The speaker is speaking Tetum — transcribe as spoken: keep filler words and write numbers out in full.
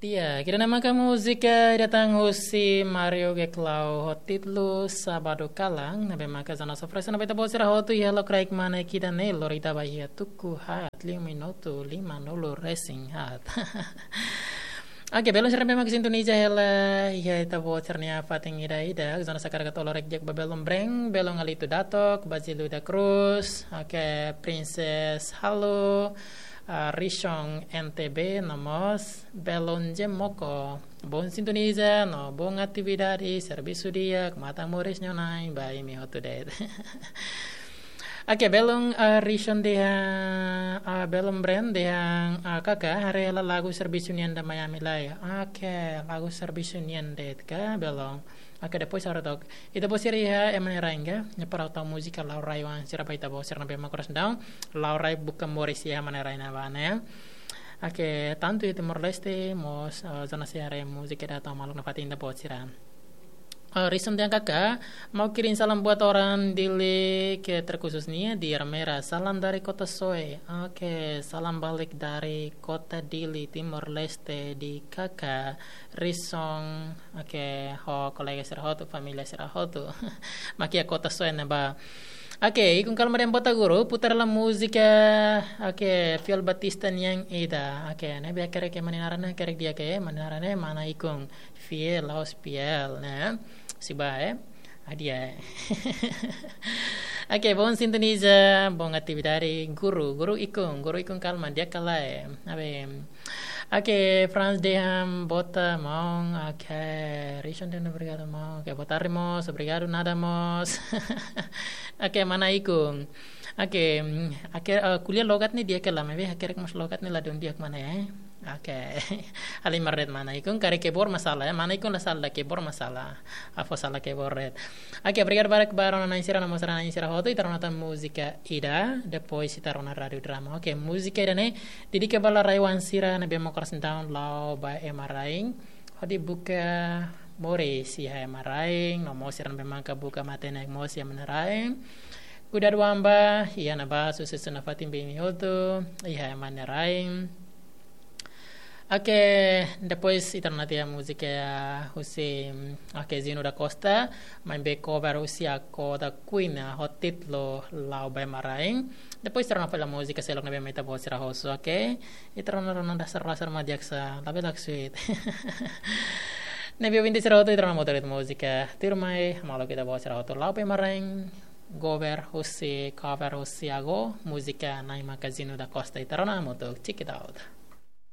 Di'ak, ida-ne'e maka múzika ida tan husi Mario Geklau ho títulu Sábado Kalan, ne'ebé maka zona sofresa na beta bosira hotu iha lokraik mane ida-ne'e lori ita ba iha tuku haat, lima minutu lima nulu resin haat. Oke, belun sira ne'ebé maka sintoniza hela iha ita-boot sira-nia fatin ida-idak, zona sakarak tolo rek di'ak ba belun Breng, belun Alito Datok, Basilio da Cruz, oke, Princess Halo, ah, Rishon N T B, no mós belun Jemoko. Bom sintoniza, no bom atividade, servisu di'ak, matan moris nia Na'i ba imi hotu de'it. Oke, belun, ah, Rishon dehan, ah, belun Breng dehan, ah, kaka, haree hela lagu servisu nian da Miami lai. Oke, lagu servisu nian de'it ka, belun. Oke, depois ha'u haree took. Ita-boot sira iha ema nia rai ka, ne'e para tau múzika la'o rai oan sira ba ita-boot sira ne'ebé mak korasaun. La'o rai buka moris iha ema nia rai ne'ebá ne'e. Oke, tantu iha Timor-Leste, mós, eh, zona sira haree múzika ida tau maluk nafatin ita-boot sira. Eh, Rishon dehan kaka, mau kirim salam buat orang Dili ke terkhususnya di Ermera. Salam dari Kota Soe. Oke, salam balik dari Kota Dili, Timor-Leste di kaka Rishon. Oke, ho kolega sira hotu, família sira hotu. Mak iha Kota Soe ne'ebá. Oke, ikun kalma dehan bota guru, putar hela múzika. Oke, Fiel Batista nian ida. Oke, ne'ebé hakerek ema nia naran ne'e, hakerek di'ak, ema nia naran ne'e, mana ikun. Fiel, la'ós Piel, ne'e. Siba, eh. Adia. Oke, bom sintoniza, bom atividade, guru, guru ikun, guru ikun kalma, di'ak ka lae. Abe. Oke, Franz dehan bota maun, oke, Rishon dehan obrigadu maun, oke, boa tarde mós, obrigadu nada mós. Oke, mana ikun. Oke, mm, oke, eh, ko'alia logat ne'e di'ak ka lae, maibé hakerek mós logat ne'e ladún di'ak mana ya. Oke. Halimar de'it mana ikun, karik keyboard masalah ya, mana ikun la sala, keyboard masalah. Ha'u fó sala keyboard de'it. Oke, obrigadu barak ba rona-na'in sira no mós rona-na'in sira hotu, ita rona tan múzika ida, depois ita rona Rádiu Drama. Oke, múzika ida-ne'e dedika ba rai oan sira ne'ebé mak korasaun la'o ba ema rain. Hodi buka moris iha ema rain, no mós sira ne'ebé maka buka matenek mós iha ema nia rain. Kuidadu an ba, iha ne'ebá, susesu nafatin ba imi hotu iha ema nia rain. Oke, depois ita rona tiha múzika husi, oke, Zino da Costa, maibé cover husi Akoda Queen, ho títulu La'o ba Ema Rain. Depois ita rona fali múzika seluk ne'ebé mak ita-boot sira husu, oke? Ita rona, rona dasar-dasar mak di'ak sa, labele sweet. Ne'ebé ouvinte sira hotu, ita rona mós tuir múzika tuirmai, maluk ita-boot sira hotu, La'o ba Ema Rain, cover husi, cover husi Akoda, múzika Nai Makazino da Costa, ita rona hamutuk, check it out.